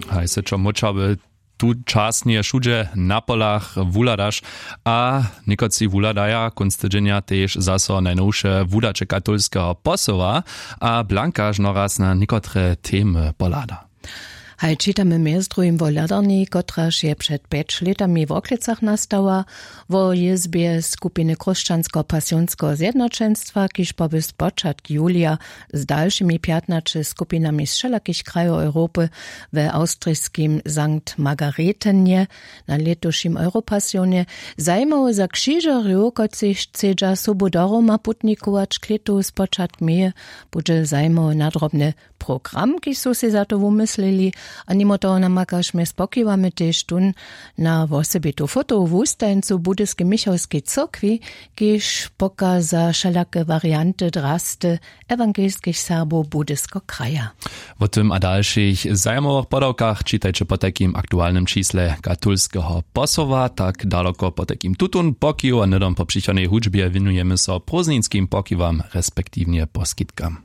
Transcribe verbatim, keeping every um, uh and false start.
Haj se čo móčały tu časnje wšudźe na polach wuhladaš, a někotři wuhladaja kónc tydźenja tež zaso najnowše wudaće katolskeho posoła. A blankaž noraz na někotre temy pohlada. Haj čitamy mjez druhim wo hladarni, kotraž je před pjeć lětami w Worklecach nastała, wo jězbje skupiny chróšćanskeho pasionskeho zjednoćenstwa, kiž poby spočatk julija z dalšimi pjatnaće skupinami z wšelakich krajow Europy we awstrijskim Sankt Margaretenje na lětušim Europasionje zajimowy za křižerjow, kotřiž chcedźa sobu do Roma putnikować k lětu spočatk meje, budźe zajimowy nadrobny program, kiž su sej za to wumyslili. A nimo toho namakašmje spokiwamy tež tón na wosebitu fotowu wustajeńcu w budyskej michałskej cyrkwi, kiž pokaza wšelake warianty drasty ewangelskich Serbow Budysko kraja. Wo tym a dalšich zajimowych podawkach čitajće potajkim aktualnym čisle katolskeho posoła. Tak daloko potajkim tutón pokiw a hnydom po přichodnej hudźbje wěnujemy so prózdninskim pokiwam respektiwnje poskitkam.